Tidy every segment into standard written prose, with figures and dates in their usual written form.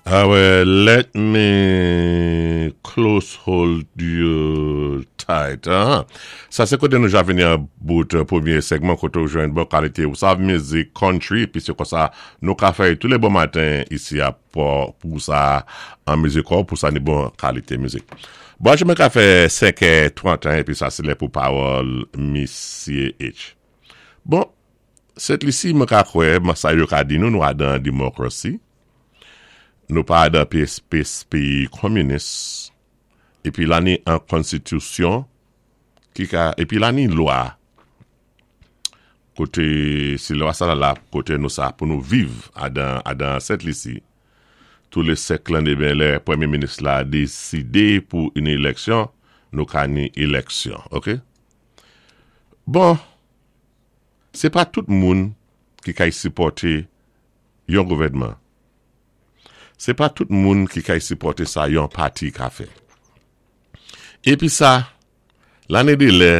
Awè, let me close hold you tight. Aha. Sa sé koté nou ja vini an bout pwémyé sègman koté ou jwenn bon kalité ou sav mizik country épi sé konsa nou ka fè tou lé bon maten isi a pou sa an mizik ou pou sa ni bon kalite mizik. Bon aje mwen ka fè 5 è 31 epi sa se lè pou pawòl Misye H. Bon, Sent Lisi mwen ka kwè sa yo ka di nou nou adan democracy. Nou pa adan peyi kominis epi la ni an konstitisyon ki ka epi la ni lwa kote si lwa sa la kote nou sa pou nou viv adan adan Sent Lisi tou le 5 lan eben lè premye minis la deside pou yn eleksyon nou ka ni eleksyon ok bon se pa tout moun ki kay sipòte yon gouvènman. Se pa tout moun ki kay sipòte sa yon pati ka fè. Epi sa, lane de lè,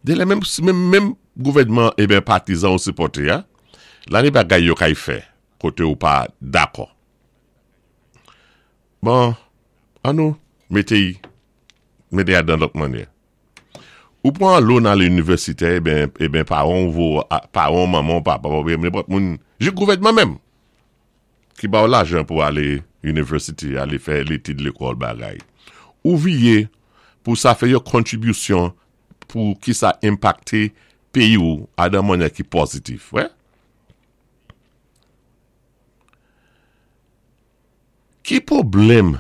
de lè menm, menm, menm gouvènman eben patizan ou sipòte a, lane bagay yo kay fè kote ou pa dakò. Bon, an nou mete y, mete a dan lòt mannyè. Ou pran an loan ale inivèsitè eben eben paran w vo paran w manman w papa w oubyen nenpòt moun jis gouvènman menm ki ba w lajan pou ale inivèsite ale fè letid lekòl bagay ou viye pou sa fè yon kontribisyon pou ki sa enpakte peyi w a dan mannyè ki pozitif wè ki pwoblèm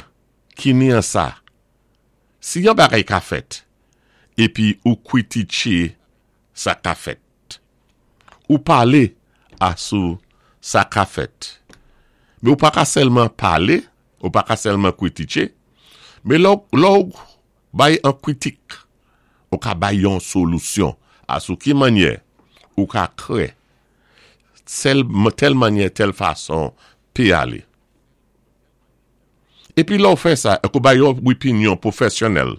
ki ni an sa. Si yon bagay ka fèt, epi ou kwitiche sa ka fèt. Ou pale a sou sa ka fèt. Men ou pa ka sèlman pale, ou pa ka sèlman kwitiche, men lè ou bay an kwitik, ou ka bay yon solisyon a sou ki mannyè ou ka krè tèl mannyè, tèl fason pe ale. Epi lè w fè sa, èk ou bay yon wipinyon pwofesyonèl,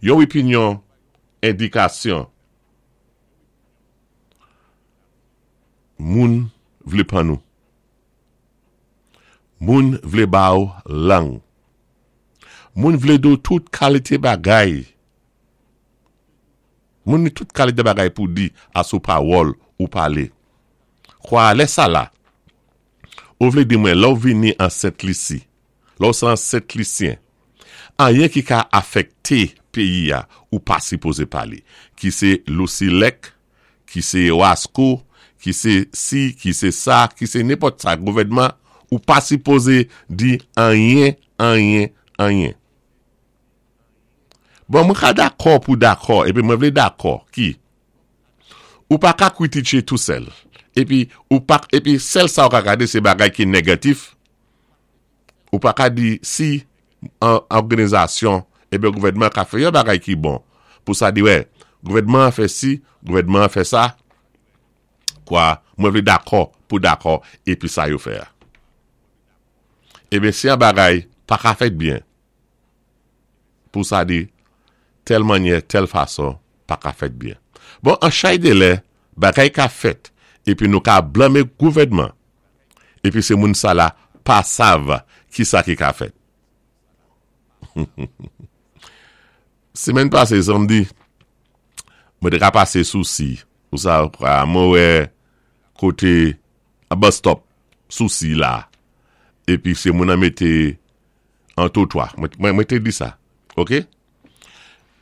yon wipinyon endikasyon, moun vle pann ou. Moun vle ba ou lang. Moun vle di w tout kalite bagay. Moun ni tout kalite bagay pou di a sou pawòl ou pale. Kwa lè sa la, Ou vle di mwen lè w vini an Sent Lisi, lè w se an Sent Lisyen, anyen ki ka afekte peyi a ou pa sipoze pale. Ki se Lousilèk, ki se Wasko, ki se si, ki se sa, ki se nenpòt sa gouvènman, ou pa sipoze di anyen, anyen, anyen. Bon mwen ka dakò pou dakò epi mwen vle dakò ki. Ou pa ka kwitiche tou sèl. Epi ou pa epi sèl sa ou ka gade se bagay ki negatif. Ou pa ka di si an òganizasyon ebyen gouvènman ka fè yon bagay ki bon pou sa di wè gouvènman an fè si, gouvènman an fè sa kwa mwen vle dakò pou dakò epi sa yo fè a. Ebyen si yon bagay pa ka fèt byen. Pou sa di, tèl mannyè, tèl fason pa ka fèt byen. Bon, an chay de lè, bagay ka fèt, epi nou ka blame gouvènman, epi se moun sa la pa sav ki sa ki ka fèt. Semèn pase, samdi, mwen te ka pase Sousi, ou sa, mwen wè kote bus stop Sousi la, epi se moun an mete an twotwa. Mwen te di sa. Ok?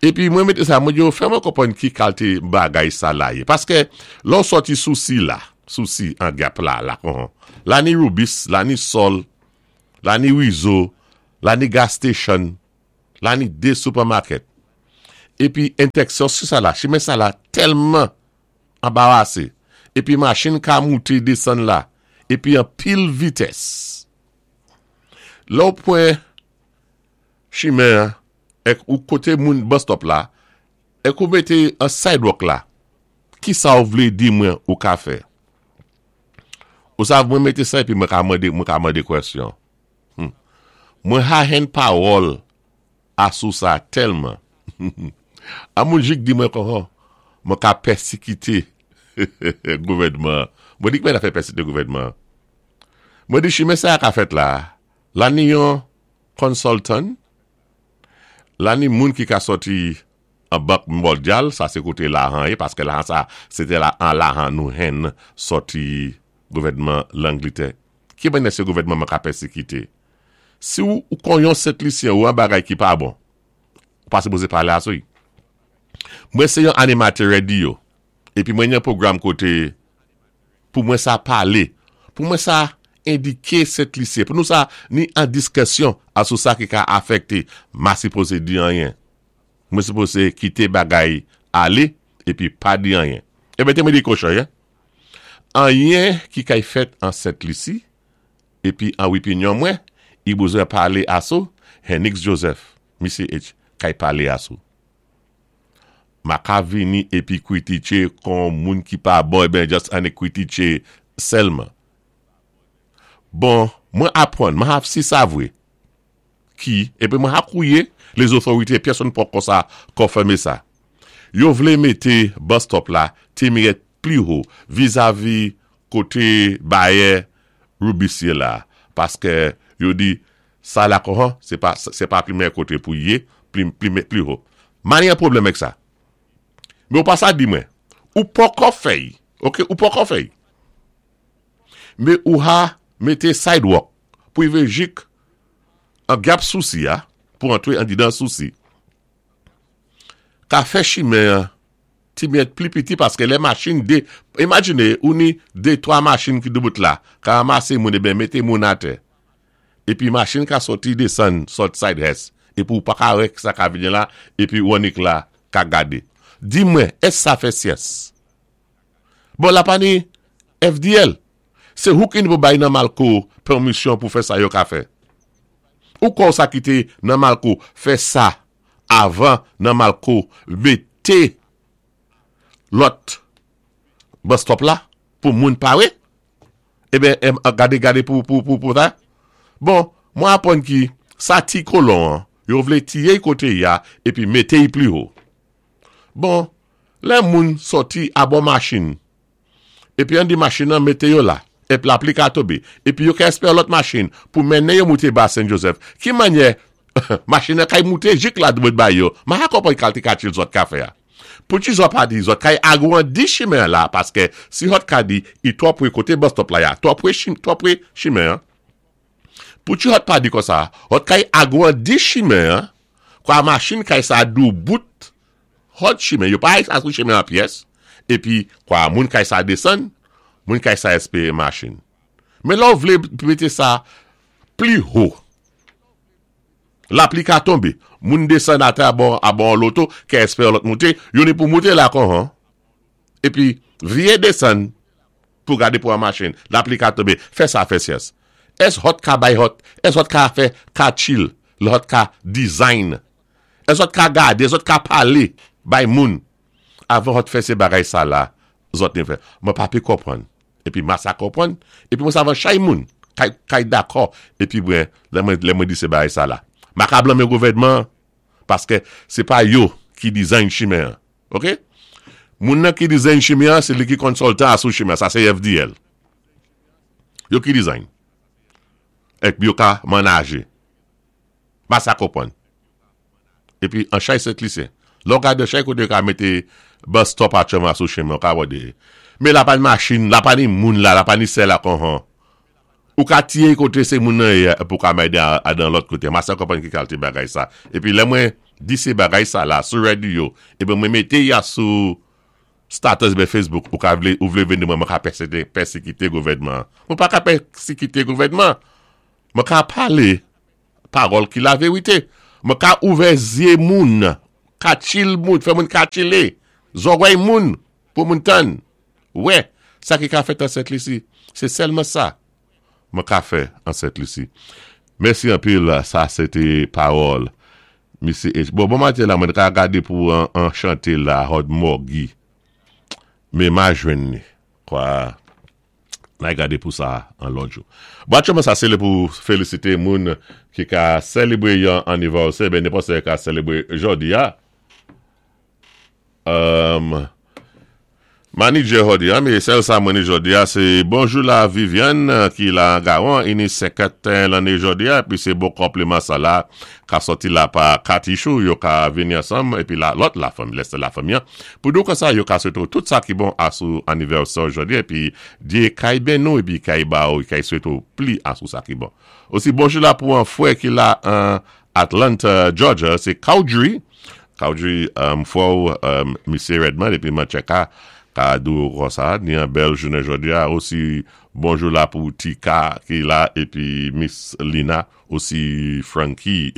Epi mwen mete sa, mwen di yo fè mwen konprann ki kalte bagay sa la ye. Paske lè w sòti Sousi la, Sousi an gap la, la konhon. La ni Rubis, la ni Sol, la ni Wizo, la ni gas station, la ni 2 supermarket. Epi entèksyon sa la, chimen sa la tèlman anbarase. Epi machin ka moute desann la. Epi anpil vitès. Lè w pran chimen an ek ou kote moun bus stop la ek ou mete an sidewalk la kisa ou vle di mwen ou ka fè? Ou sav mwen mete sa epi mwen ka mande mwen ka mande question. Hum. Mwen hahen pawòl asou sa tèlman. A moun jik di mwen konhon mwen ka pèsikite gouvènman an. Mwen di kman na fè pèsikite gouvènman an? Mwen di chimen sa a ka fèt la a. La ni yon consultant, la ni moun ki ka sòti an Bank Mondyal, sa sé koté lahan yé, paské lahan sa, sé té la an lahan nou henn sòti gouvèdman Langlitè. Ki mannyè sé gouvèdman mwen ka pèsikité? Si ou kon yon Sentlisyen ou an bagay ki pa bon, ou pa sipozé palé asou y. Mwen sé yon animatè radiyo, épi mwen yon pwogram koté pou mwen sa pale, pou mwen sa endike Sent Lisyen, pou nou sa ni an diskisyon asou sa ki ka afèkte, ma sipoze di anyen. Mwen sipoze kite bagay ale epi pa di anyen. Eben te mwen di kochòy, hein. Anyen ki kay fèt an Sent Lisi epi an wipinyon mwen, i bezwen pale asou Henix Joseph, Misye H, kay pale asou. Ma ka vini epi kwitiche kon moun ki pa bon eben just annik kwitiche sèlman. Bon, mwen apwann, mwen ap si sa vwe ki, epi mwen ap kouye lezotorite pyèsonn poko sa konfime sa. Yo vle mete bus stop la ti mirèt pli ho vizavi kote bayè Rubis ye la paske yo di Sa la kohan se pa se pa pli meyè kote pou ye pli pli pli ho. Mani an pwoblèm ak sa. Men ou pa sa di mwen. Ou poko fèy. Ok ou poko fèy. Men ou ha mete sidewalk pou rive jik an gap sousi a pou antre andidan sousi. Ka fè chimen an ti mèt pli piti paske lè machin de imajine ou ni 2 3 machin ki debout la ka ranmase moun eben mete moun atè. Epi machin ka soti desann sot side hes epi ou paka wè kisa ka vini la epi ou annik la ka gade. Di mwen es sa fè syens? Bon la pa ni FDL. Se ou ki ni pou bay nan malko pèmisyon pou fè sa yo ka fè. Ou kwè ou sa kite nan malko fè sa avan nan malko mete lòt bus stop la pou moun pa wè? Eben, em, gade, gade pou, pou, pou, pou ta. Bon, mwen aprann ki sa ti kolon an, yo vle tiye y kote y a epi mete y pli ho. Bon, lè moun sòti abò machin, epi an di machin an mete yo la, ep lapli ka tonbe, epi yo ka espere lòt machin pou mennen yo moute ba Sen Jozèf, ki mannyè machin an kay moute jik la dwe bay yo? M pa konprann kalte katil zòt ka fè a. Pouki zòt pa di zòt kay agrandi chimen an la paske si zòt ka di i twò pre kote bus stop la ya twò pre twò pre chimen an pouki zòt pa di konsa zòt kay agrandi chimen an kwa machin kay sa doubout zòt chimen yo pa sa sou chimen an pyès epi kwa moun kay sa desann moun kay sa espere machin men lè w vle mete sa pli ho. Lapli ka tonbe, moun desann atè abò abò yon loto, kè espere lòt moute, yo ni pou moute la kon han. Epi, vye desann pou gade pou an machin, lapli ka tonbe, fè sa fè syans. Es hot ka bay hot, es hot ka fè ka chill, lè hot ka design. Es hot ka gade, es hot ka pale bay moun. Avan hot fè se bagay sa la, zòt ni fè. Mwen pa pi konprann. Epi massa konprann, epi mwen savan chay moun kay kay dakò, epi mwen lè mwen lè mwen di se bagay sa la. Ma ka blanme gouvènman an, paske se pa yo ki design chimen an. Ok? Moun nan ki design chimen an, se li ki consultant a sou chimen an, sa se FDL. Yo ki design. Epi yo ka manaje. Massa konprann. Epi an chay Sent Lisyen. Lè w gade chay kote yo ka mete bus stop aktyèlman sou chemen ou ka wè de. Men la pa ni machin, la pa ni moun la, la pa ni sè la kon han. Ou ka tiye kote se moun nan ye a epi ou ka mède a dan lòt kote. Massa konprann ki kalte bagay sa. Epi lè mwen di se bagay sa la sou radio, epi mwen mete ya sou status bè Facebook, ou ka vle, ou vle vin di mwen mwen ka pèsekite gouvènman an. Mwen pa ka pèsekite gouvènman. Mwen ka pale. Pawòl ki laverite. Mwen ka ouvè zye moun, katchil moun, fè moun katchile, zòrèy moun pou moun tann, wè sa ki ka fèt an Sent Lisi. Se sèlman sa mwen ka fè an Sent Lisi. Mèsi anpil, sa se te pawòl Misye H. Bon, bon maten la mwen ka gade pou an chante la Hòd Mògi. Men ma jwenn ni. Kwa. Nay gade pou sa an lòt jou. Bon aktyèlman sa se lè pou felisite moun ki ka selebre yon anivèsè, ben nenpòt sa yo ka selebre jodi a. Manidjè jòdi a, mé sèl sa mwen ni jòdi a sé bonjou la Viviane ki la an Gawon, i ni 51 lanné jòdi a, épi sé bon konpliman sa la ka sòti la pa Katichou, yo ka vini ansanm épi la lòt la fanmi, lès la fanmi an, pou di w konsa yo ka swete w tout sa ki bon asou anivèsè w jòdi a épi Dyé kay beni w épi kay ba w, kay swete w pli asou sa ki bon. Osi bonjou la pou an fwè ki la an Atlanta Georgia se Cowdrey Cowdrey frè w misye Redman epi Mancheka ka di w konsa ni an bèl jounen jodi a osi bonjou la pou Tika ki la epi Miss Lina osi Francky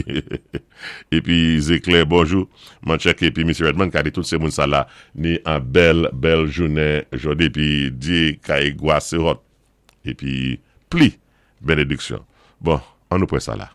epi Zeklè bonjou Mancheka epi misye Redman ka di tout se moun sa la ni an bèl bèl jounen jodi epi di kay gwase hot. Epi pli benediksyon. Bon, an nou pran sa la.